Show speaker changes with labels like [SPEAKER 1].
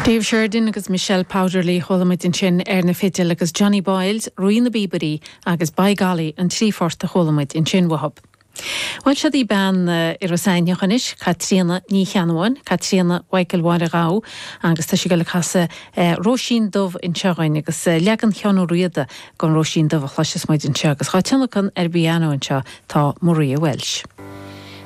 [SPEAKER 1] Dave Sheridan agus Michelle Powderly a chuala muid ansin ar na fidil agus Johnny Boyles, Rí na bPíobairí agus By Golly an trí phort a chuala muid ansin uathub. Bhuel siod í bean i Ros Eimhneach anois, Caitríona Ní Cheannabháin, Caitríona Mhichael Mháire Ghabha agus tá sí ag dul ag casadh Róisín Dubh anseo dhuinn agus leagan Sheáin Ó Riada den Róisín Dubh a chloisfeas muid anseo agus dhá tionlacan ar an bpianó anseo tá Maria Walsh.